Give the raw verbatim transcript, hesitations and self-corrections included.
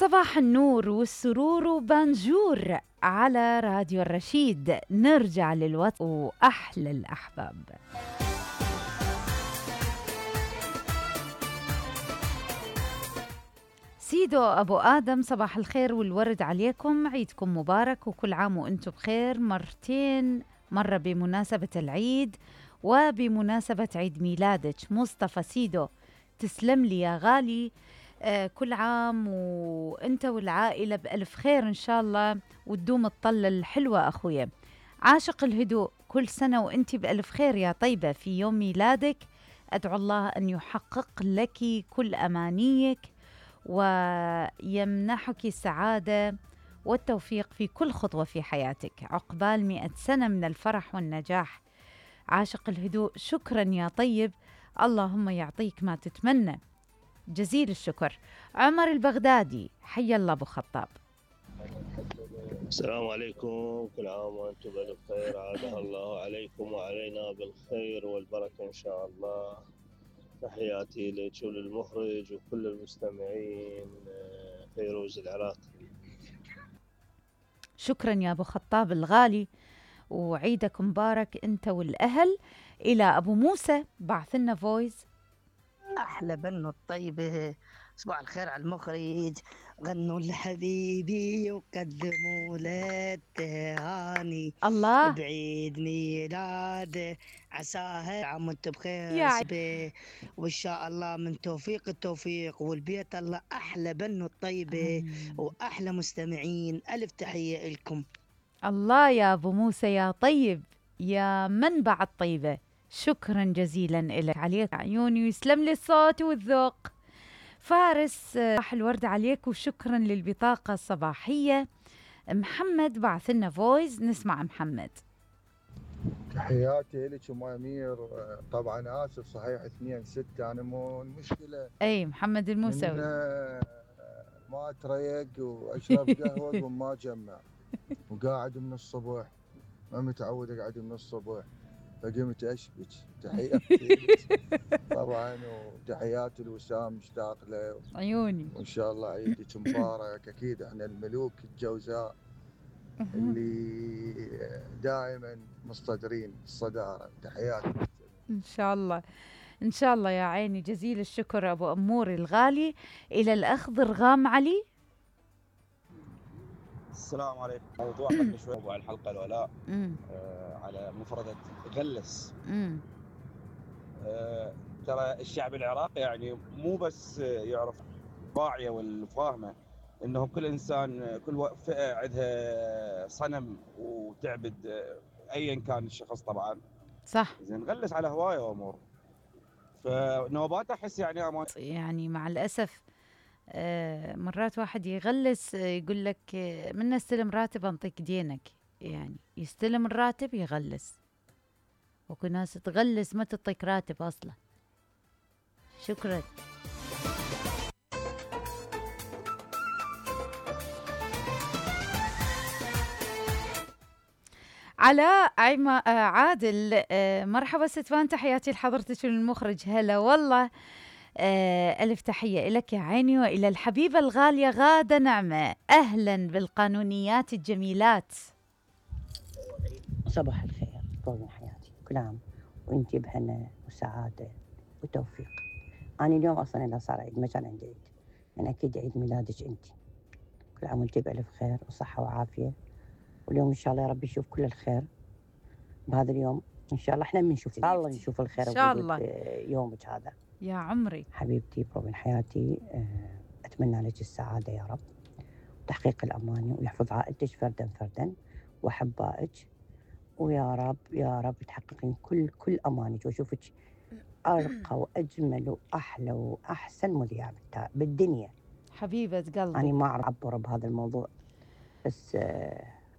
صباح النور والسرور وبانجور على راديو الرشيد. نرجع للوطن وأحلى الأحباب. سيدو أبو آدم، صباح الخير والورد عليكم، عيدكم مبارك وكل عام وأنتم بخير. مرتين، مرة بمناسبة العيد وبمناسبة عيد ميلادك. مصطفى سيدو، تسلم لي يا غالي. آه كل عام وانت والعائلة بألف خير إن شاء الله، وتدوم الطلة الحلوة أخويا. عاشق الهدوء، كل سنة وانت بألف خير يا طيبة. في يوم ميلادك أدعو الله أن يحقق لك كل أمانيك ويمنحك السعادة والتوفيق في كل خطوة في حياتك. عقبال مئة سنة من الفرح والنجاح. عاشق الهدوء، شكرا يا طيب، اللهم يعطيك ما تتمنى. جزيل الشكر. عمر البغدادي، حي الله أبو خطاب. السلام عليكم، كل عام وأنتم بألف خير. عادها الله عليكم وعلينا بالخير والبركة إن شاء الله. تحياتي لك وللمخرج وكل المستمعين. فيروز العراقي. شكرا يا أبو خطاب الغالي، وعيدك مبارك أنت والأهل. إلى أبو موسى، بعث لنا فويس. أحلى بنو الطيبة، صباح الخير على المخرج. غنوا لحبيبي وقدموا له التهاني الله بعيد ميلاده، عساها عام وانتم بخير يا وإن شاء الله من توفيق التوفيق والبيت الله. أحلى بنو الطيبة وأحلى مستمعين، ألف تحية لكم. الله يا أبو موسى يا طيب، يا منبع الطيبة، شكرا جزيلا لك. عليك عيوني ويسلم لي الصوت والذوق. فارس، صباح الورد عليك وشكرا للبطاقة الصباحية. محمد بعث لنا فويس، نسمع محمد. تحياتي لك ام امير. طبعا اسف، صحيح اثنين ستة، انا مو المشكلة. اي محمد الموسوي، ما اتريق واشرب قهوة وما اجمع، وقاعد من الصبح، ما متعود اقعد من الصبح، فقمت اشبك. تحياتي طبعا، وتحياتي لوسام، مشتاق له عيوني. وان شاء الله عيدك مبارك. اكيد احنا الملوك الجوزاء اللي دائما مصطدرين الصدارة. تحياتي ان شاء الله ان شاء الله يا عيني. جزيل الشكر ابو امور الغالي. الى الاخ ضرغام علي. السلام عليكم. موضوع قبل شوي موضوع الحلقة الولاء آه على مفردة غلس. آه ترى الشعب العراقي يعني مو بس يعرف واعية والفاهمة انه كل انسان كل فئة عندها صنم وتعبد آه ايا كان الشخص طبعا. صح. زين غلس على هواية وامور، فنوبات احس يعني أمان. يعني مع الاسف آه مرات واحد يغلس، يقول لك آه من استلم راتب انطيك دينك، يعني يستلم الراتب يغلس. وكو ناس تغلس ما تعطيك راتب اصلا. شكرا. علاء عيما آه عادل، آه مرحبا ستفان، تحياتي لحضرتك والمخرج. هلا والله. آه ألف تحية لك يا عيني، وإلى الحبيبة الغالية غادة نعمة. أهلا بالقانونيات الجميلات. صباح الخير، طول حياتي كل عام وانتي بهنا وسعادة وتوفيق. أنا اليوم أصلا إذا صار عيد ما كان عندي عيد، يعني أكيد عيد ميلادك انتي. كل عام وانتي بألف خير وصحة وعافية، واليوم إن شاء الله يا رب يشوف كل الخير بهذا اليوم. إن شاء الله إحنا بنشوف إن شاء الله نشوف الخير إن شاء الله يومك هذا يا عمري. حبيبتي بروبن حياتي، أتمنى لك السعادة يا رب وتحقيق الأماني، ويحفظ عائلتك فردا فردا وأحبائك، ويا رب يا رب تحققين كل كل أمانك، وأشوفك أرقى وأجمل وأحلى وأحسن مذيعة بالدنيا. حبيبة قلبي. أنا ما أعرف أعبر بهذا الموضوع، بس